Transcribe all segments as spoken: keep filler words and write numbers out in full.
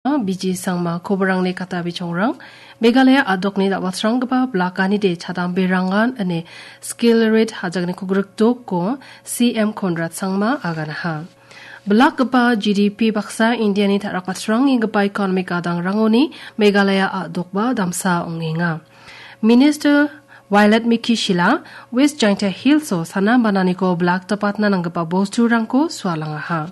Biji Sangma, koborangni kata bichongrang. Meghalaya a·dokni dal·batranggipa blakanide chadamberangan ine skill rate hajakniko grikdoko C M Conrad Sangma aganaha. Blakgipa G D P baksa Indiani ta·rakbatrangenggipa economic gadangrangoni Meghalaya a·dokba damsa ong·enga. Minister Violet Miki Shila, West Jaintia Hills-o sana bananiko blak dapatna nanggipa bosturangko sualangaha.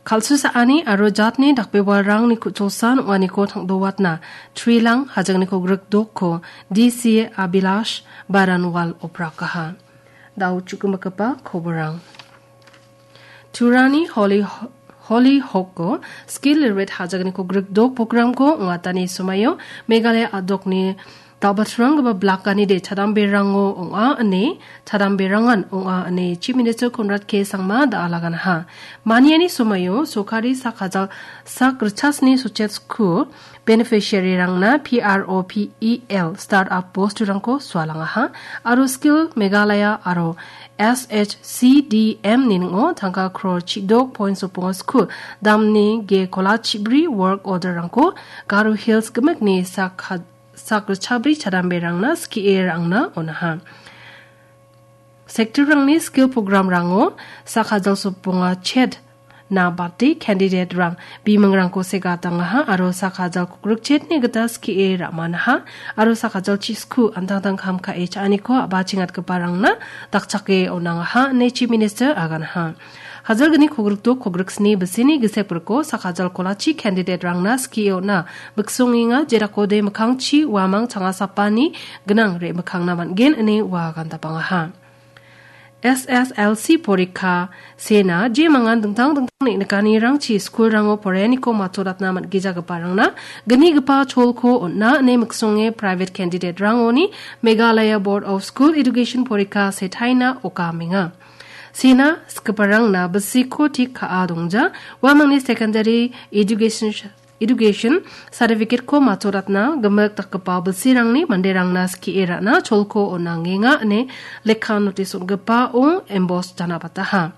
Kal·susaani aro jatni dakbebalrangni ku·cholsan ong·aniko tangdowatna Trilang hajakniko grikdokko D C Abhilash Baranwal oprakaha. Dao chukumakgipa koborang. Turani Holy, Holy Hawk-o skill rate hajakniko grikdok programko ong·atani somaio Meghalaya a·dokni dal·batranggipa blakanide chadamberango ong·a ine, chadamberangan ong·a ine Chief Minister Conrad K Sangma da·alaganaha. Maniani somaio sokari sak hajal sak richasni sochetsku beneficiary-rangna P R O P E L startup bosturangko sualangaha aro Skill Meghalaya aro S H C D M ni ning·o tangka crore chidok point sopong sku damni ge kola chibri work order-rangko Garo Hills gimikni sak ha-, sak richabri chadamberangna skie ra·angna on·aha. Sector-rangni skill program-rango sak hajal soponga chet na bate candidate-rang bimingrangko segatangaha aro sak hajal kukrikchetni gita skie ra·manaha aro sak hajal chisku antangtang kam ka·e cha·aniko a·bachengatgiparangna dakchake on·angaha ine Chief Minister aganaha. Hajalgni kogrikdok kogriksni bisini gisepriko sak hajal kolachi candidate-rangna skie on·a miksongenga, jerakode mikkangchi uamang changasapani gnang re·mikkangna man·gen ine ua gandapangaha. S S L C porikka sena jemangan dingtang dingtang neng·nikanirangchi skulrango porainiko matoratna man·gijagiparangna gnigipa cholko on·a ine miksonge private candidate-rangoni Meghalaya Board of School Education porikka setaina okamenga. Sena skiparangna bisiko tik ka·a dongja, uamangni secondary education Education certificate-ko matoratna gimik dakgipa bilsirangni manderangna skie ra·na cholko on·angenga ine lekka notice on·gipao emboss janabataha.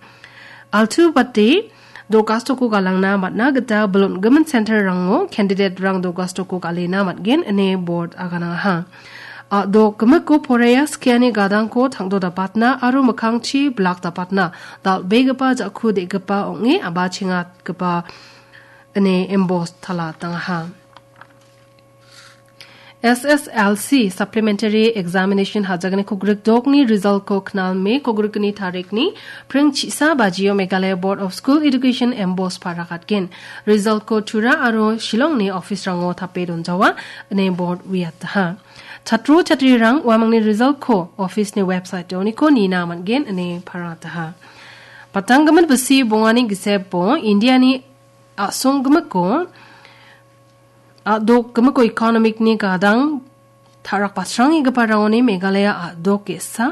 Altu bate do·gastoko galangna man·a gita bilon gimin center-rango candidate-rang do·gastoko galena man·gen ine board aganangaha. A·dok gimiko poraia skiani gadangko tangdo dapatna aro mikkangchi blak dapatna dal·begipa ja·ku de·gipa ong·e a·bachengatgipa ine emboss tala tangaha. S S L C Supplementary Examination hajakni kogrikdokni result-ko knal Me kogrikni tarikni pring chisa bajio Meghalaya Board of School Education emboss parakatgen. Result-ko Tura aro Shillongni office-rango tape donjawa ine board uiataha. Chatro chatrirang uamangni result-ko office-ni website-oniko nina man·gen ine parataha. Patanggimin bisi bongani gisepo Indiani a·song gimiko, a·dok gimiko economic-ni gadang ta·rak basrangegiparangoni Meghalaya a·dok ge·sa,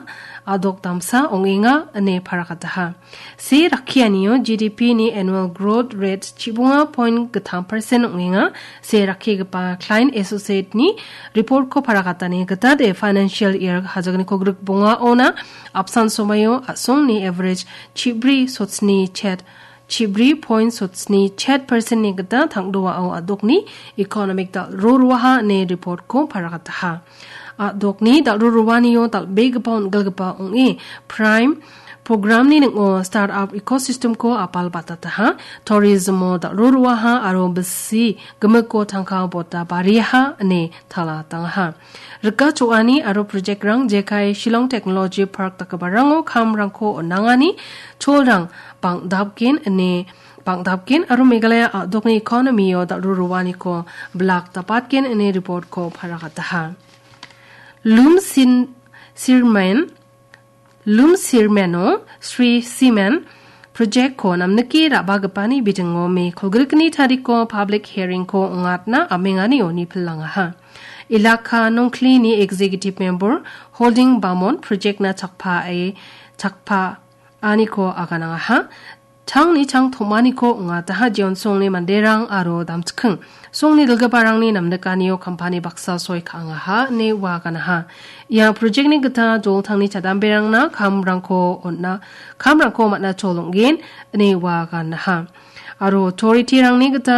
a·dok damsa ong·enga ine parakataha. Se rakkianio G D P-ni annual growth rate chibonga point gittam percent ong·enga. Se rakkigipa Klein Associate-ni report-ko parakatani gita de financial year hajakniko grikbongaona apsan somaio a·songni average chibri sotsni chet chibri point sotsni chet percent-ni gita tangdoao a·dokni economic dal·ro roaha ine report-ko parakataha. A·dokni dal·ro roanio dal·begipa on·gilgipa ong·e Prime program-ni ning·o startup ecosystem-ko apal batataha, tourism-o dal·ro roaha aro bisi gimiko tangka bota bariaha ine tala tangaha. Rika cho·ani aro project-rang jekai Shillong Technology Park dakgiparango kamrangko on·angani cholrang bang·dapgen ine, bang·dapgen aro Meghalaya a·dokni economy-o dal·ro roaniko blak dapatgen ine report-ko parakataha. Lum Sin Sirmen Lum Sirmeno Sri Simen project-ko namnike ra·bagipani bidingo Me kolgrikni tariko public hearing-ko ong·atna amenganio nipilangaha. Ilaka Nongklini executive member Holding Bamon project-na chakpae, chakpaaniko aganangaha. Changni chang tom·aniko ong·ataha, jeon songni manderang aro damchiking songni dilgiparangni namnikanio kampani baksa soi ka·angaha ine ua ganaha. Ia project-ni gita joltangni chadamberangna kamrangko on·a, kamrangko man·a cholonggen ine ua ganaha. Aro authority-rangni gita